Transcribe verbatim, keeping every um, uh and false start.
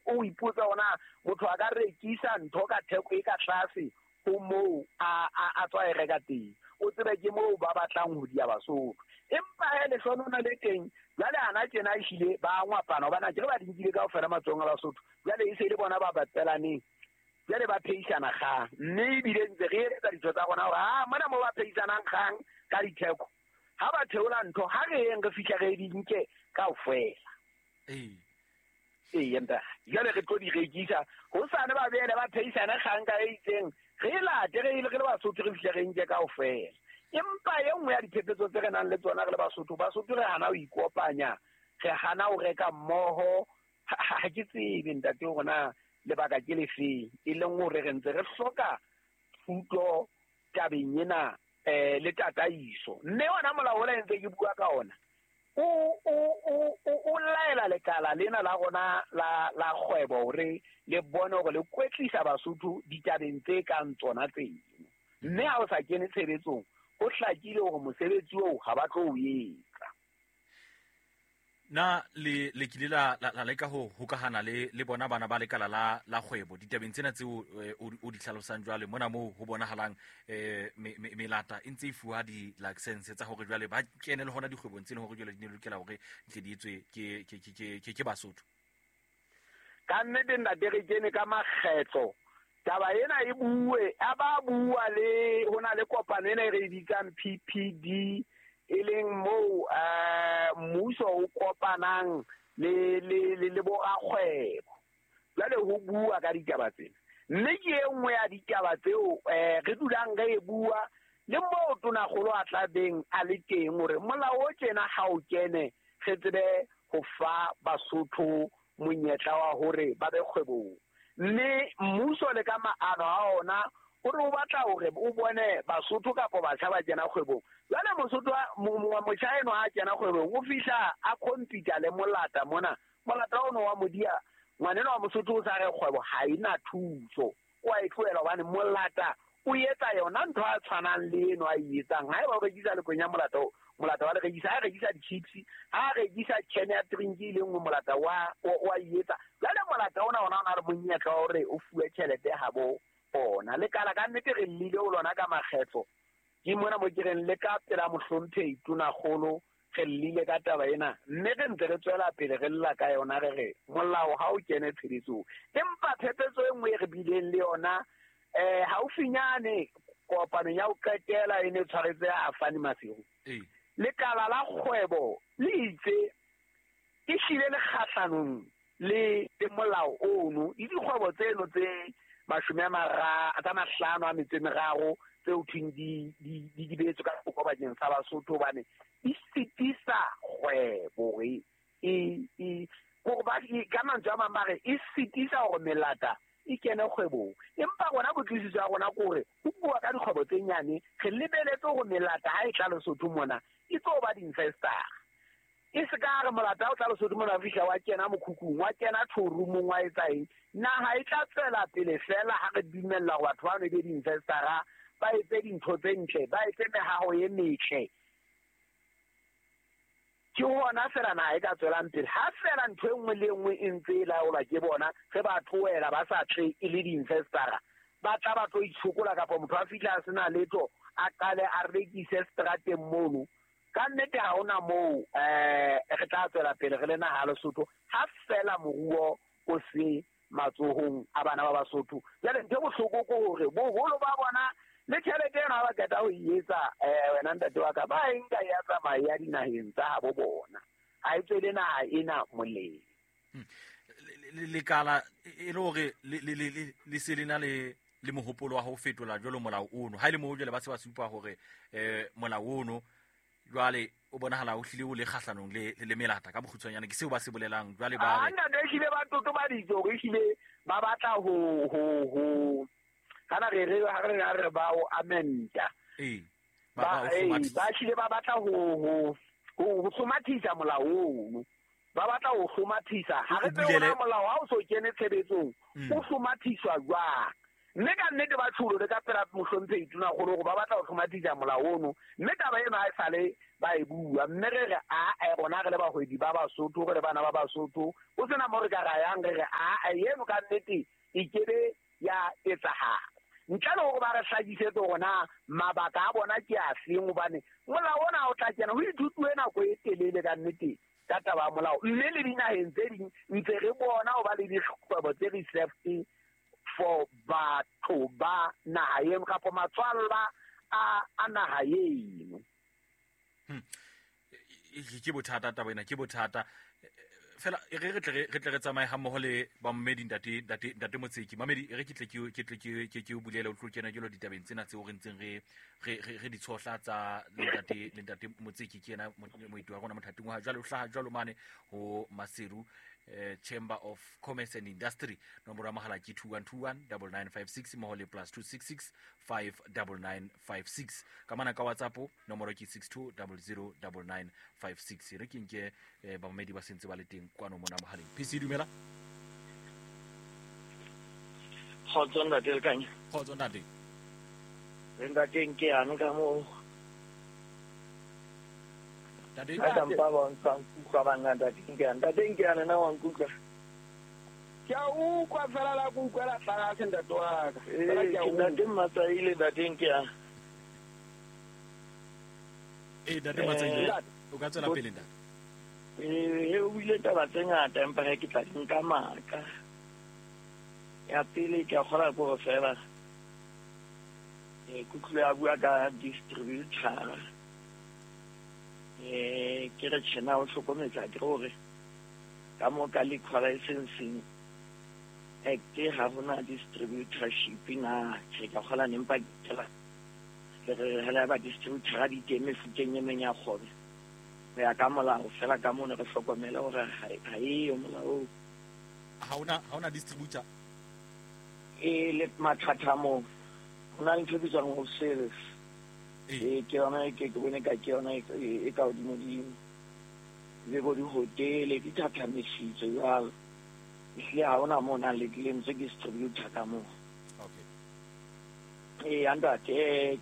o ipotsa ona motho a ka rekisa ntho ka theko e ka tlase ho moo a a tswa e reka teng, o tsebe ke moo ba batlang ho dia Basotho. Empa he lehlonona le teng jwale ana tjena ehlile ba ngwapana hobane ke re ba di nkile kaofela matsohong a Basotho, jwale e se le bona ba batelaneng, jwale ba pheisana kgang, mme ebile ntse re eletsa ditho tsa rona hore ha mona moo ba pheisanang kgang ka ditheko, ha ba theola ntho ha re yeng re fihla re di nke kaofela. Ee ee nta jwale re tlo di rekisa hosane ba beele ba pheisana kgang ka e itseng, re late re ile re le Basotho re fihle re nke kaofela. Empa e nngwe ya diphephetso tse re nang le tsona re le Basotho, Basotho re hana ho ikopanya, re hana ho reka mmoho. Ha ke tsebe ntate hore na lebaka ke lefeng, e leng hore re ntse re hloka thuto tabeng ena um le tataiso. Mme ona molao ona ntse ke bua ka ona o o o o laela lekala lena la rona la la kgwebo hore le bone hore le kwetlisa Basotho ditabeng tse kang tsona tseno, mme ha o sa kene tshebetsong ho hlakile hore mosebetsi oo ha ba tlo o etsa. Na le le kile la la leka ho hokahana le le bona bana ba lekala la la kgwebo ditabeng tsena tseo o di hlalosang jwale mona moo ho bonahalang eh melata e ntse e fuwa di license tsa hore jwale ba kene le hona dikgwebong tse leng hore jwale di ne lokela hore di tle di etswe ke ke ke ke ke Basotho? Ka nnete ntate re kene ka makgetlo taba ena e bue, a ba bua le ho na le kopano ena e re bitsang P P D, e leng moo eh mmuso o kopanang le le le borakgwebo jwale ho bua ka ditaba tsena. Mme ke e nngwe ya ditaba tseo eh re dulang re e bua le moo tonakgolo a tla beng a le teng hore molao o tjena ha o kene re tsebe ho fa Basotho monyetla wa hore ba be kgwebong. Mme mmuso le ka maano a ona o re o batla hore o bone Basotho kapa batjha ba kena kgwebong. Jwale Mosotho motjha eno ha kena kgwebong o fihla a compete le molata mona, molata ono wa modia ngwaneno wa Mosotho o sa re kgwebo ha ena thuso, o a e tlohela hobane molata o etsa yona ntho a tshwanang le eno a e etsang. Haeba o rekisa lekwenya molata o molata wa le rekisa, ha rekisa di-chips, ha rekisa can ya drink e le nngwe molata wa wa e etsa. Jwale molata ona ona o na le monyetla wa hore o fuwe tjhelete habo ona. Lekala ka nnete re llile ho lona ka makgetlo, ke mona mo ke reng le ka pela mohlomphehi tonakgolo re llile ka taba ena, mme re ntse re tswela pele re lla ka yona re re molao ha o kene tshebetsong. Empa phephetso e nngwe e re bileng le yona eh haufinyane kopanong ya ho qetela e ne tshwaretse a Fani Maseru, lekala la kgwebo le itse e hlile le kgahlanong le le molao ono le dikgwebo tseno tse mashome a mara tsa mahlano a metso e meraro tseo thweng di di di beetswe ka thoko bakeng sa Basotho hobane di sitisa kgwebo e e hore ba ka mantswe a mang ba re e sitisa hore melata e kene kgwebong. Empa rona kutlwisiso ya rona ke hore ho bua ka dikgwebo tse nyane re lebeletse hore melata ha e tla Lesotho mona e tlo ba di-investor. E se ka re molata o tla Lesotho mona o fihla wa kena mokhukhung, wa kena showroomong, wa etsa eng. Naha e tla tswela pele fela ha re dumella hore batho bano e be di-investor-a, ba etse dintho tse ntle, ba etse mehaho e metle. Ke hona fela naha e ka tswelang pele. Ha fela ntho e nngwe le e nngwe e ntse e laolwa ke bona, re ba tlohela ba sa tle e le di-investor-a, ba tla ba tlo itshokola kapa motho a fihla a sena letho a qale a rekise seterateng mono. Ka nnete ha hona moo eh re tla tswela pele re le naha ya Lesotho ha fela moruo o se matsohong a bana ba Basotho. Jwale ntho e bohloko ke hore boholo ba bona le tjhelete ena ha ba qeta ho e etsa eh wena ntate wa ka ba e nka ya tsamaya ya dinaheng tsa habo bona, ha e tswele naha ena molemo. Lekala e le hore le se le na le le mohopolo wa ho fetola jwalo molao ono, ha e le moo jwale ba se ba supa hore eh molao ono jwale o bonahala o hlile o le kgahlanong le le melata ka bokgutshwanyane, ke seo ba se bolelang jwale ba re ntate ehlile ba totobaditse hore ehlile ba batla ho ho ho kana re re ha re re ba o amenda. Ee, ba ba hlile ba batla ho ho ho hlomathisa molao ono, ba batla ho hlomathisa. Ha re tsebe hore molao ha o so kene tshebetsong o hlomathiswa jwang. Mme ka nnete ba tsholo le ka pela mohlomphehi Tonakgolo gore ba batla go hlomatisa molao ono, mme taba eno ha e sale ba e bua. Mme re re a rona re le bahwebi ba Basotho, re le bana ba Basotho, o sena mo re ka ra yang re re a eno ka nnete e kebe ya etsahala. Ntle le hore ba re hlakisetse hore na mabaka a bona ke a feng, hobane molao ona o tla kena ho ithutuwe nako e telele ka nnete ka taba ya molao. Mme le dinaheng tse ding ntse re bona ho ba le dikgwebo tse reserved for batho ba naha eno kapa matswalla a a naha eno. Ke bothata taba ena, ke bothata. Fela re re tle re tle re tsamaye ha mmoho le ba mmedi ntate ntate ntate Motseki. Mamedi re ke tle ke ke tle ke ke ke o bulele o tlo kena jalo ditabeng tsena tseo re ntseng re re re di tshohla tsa le ntate le ntate Motseki ke yena moeti wa rona mothating wa jwale o hlaha jwalo mane ho Maseru eh, Chamber of Commerce and Industry. Nomoro ya mohala ke two one two one double nine five six mmoho le plus two six six five double nine five six. Ka mana ka WhatsApp nomoro ke six two double zero double nine five six. Re ke nke eh, bamamedi ba sentse ba le teng kwano mona mohaleng. P C dumela. Kgotso ntate Lekanya. Kgotso ntate. Ntate nke ano ka mo. Ntate. Ka mpa ba nkutlwa bana ntate nke ano. Ntate nke ano na wa nkutlwa. Ke a utlwa fela la go utlwela tlase ntate wa ka. Fela ke a utlwa. Ntate Matsaile ntate nke ano. Eh ntate Matsaile o ka tswela pele ntate. Eh o buile taba tse ngata empa ha ke tla di nka maka. Ya pele ke a kgola go fela. Eh kutlwe a bua ka distributor. Eh ke re tjena o hlokometsa ke hore ka mo ka liquor licensing act ha hona distributorship na tjhe ka kgola nempa ke la le re hela ba distributor di teng mefuteng e meng ya kgwebo. Ho ya ka molao fela ka mona re hlokomela hore ha e yo molao. Ha hona ha hona distributor e le mathata mo. Ho na le ntho e bitswang wholesale. E ke yona ke ke bone ka ke yona e ka hodimo dimo. Le bo di-hotel di thathamisitswe jwalo. Ehlile ha hona mo nang le lentswe distributor ka moo. Okay. Eh ntate